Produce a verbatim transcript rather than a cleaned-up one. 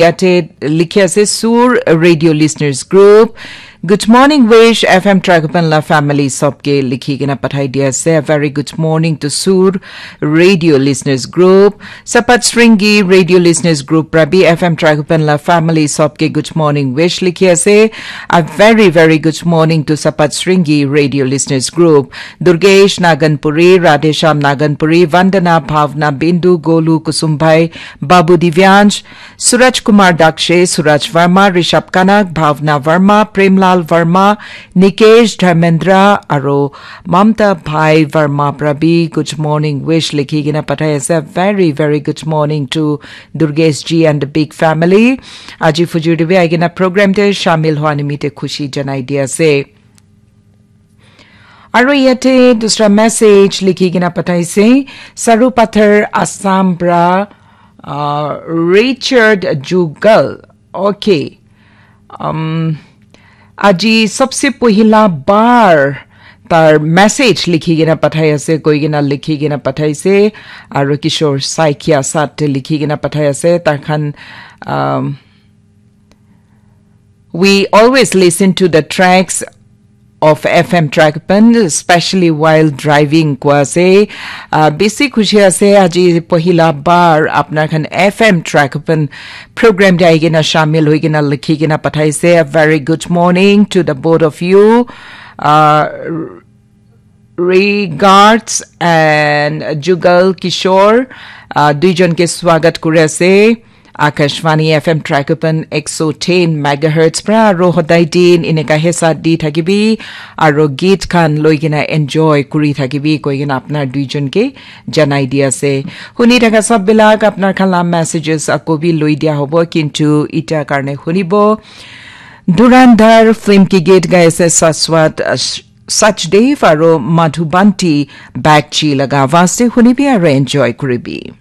Yate likhi ase Sur Radio Listeners Group. Good morning, Wish F M Tragopan la family sobke likhi kena pathai dia ase. A very good morning to Sur Radio Listeners Group. Sapat Sringi Radio Listeners Group pra bi F M Tragopan la family sobke good morning wish likhi ase. A very, very good morning to Sapat Sringi Radio Listeners Group. Durgesh Naganpuri, Radhesham Naganpuri, Vandana, Bhavna, Bindu, Golu, Kusumbai, Babu Divyansh, Suraj Kumar Dakshe, Suraj Verma, Rishabh Kanak, Bhavna Verma, Premlal Verma, Nikesh Dharmendra, aro Mamta Bhai Verma pra bi good morning wish likhi kena pathai ase. A very, very good morning to Durgesh ji and the big family. Aji fujur de bi aigena program te shamil hua nimite khushi janai di ase. Aro yate dusra message likhi kena pathaise, Saru Pathar Assam pra, uh, Richard Jugal. Okay. Um, aji sabse pohila bar tar message likhi kena pathai ase, koi kena likhi kena pathaise, aro Kishore Saikia sat te likhi kena pathai ase, tar khan, um, We always listen to the tracks of F M Trackpan, especially while driving, koi ase. Uh, besi khushi ase, aji pohila bar apnar khan F M Trackpan program te ahi kena shamil hoi kena likhi kena pathaise. A very good morning to the both of you. Uh, Regards and Jugal Kishore, uh, duijon ke swagat kuri ase. Akashvani F M Tragopan ek so ten megahertz pra aro hodai din eneka he sat di thakibi, aro git khan loi kena enjoy kuri thakibi koi kena apnar duijon ke janai di ase. Huni thaka sab bilak apnar khan la messages ako bi loi dia hobo, kintu ita karne hunibo. Durandar film ki git gai ase Saswat, uh, Sachdev aro Madhubanti Bagchi laga awaaz te hunibi aro enjoy kuribi.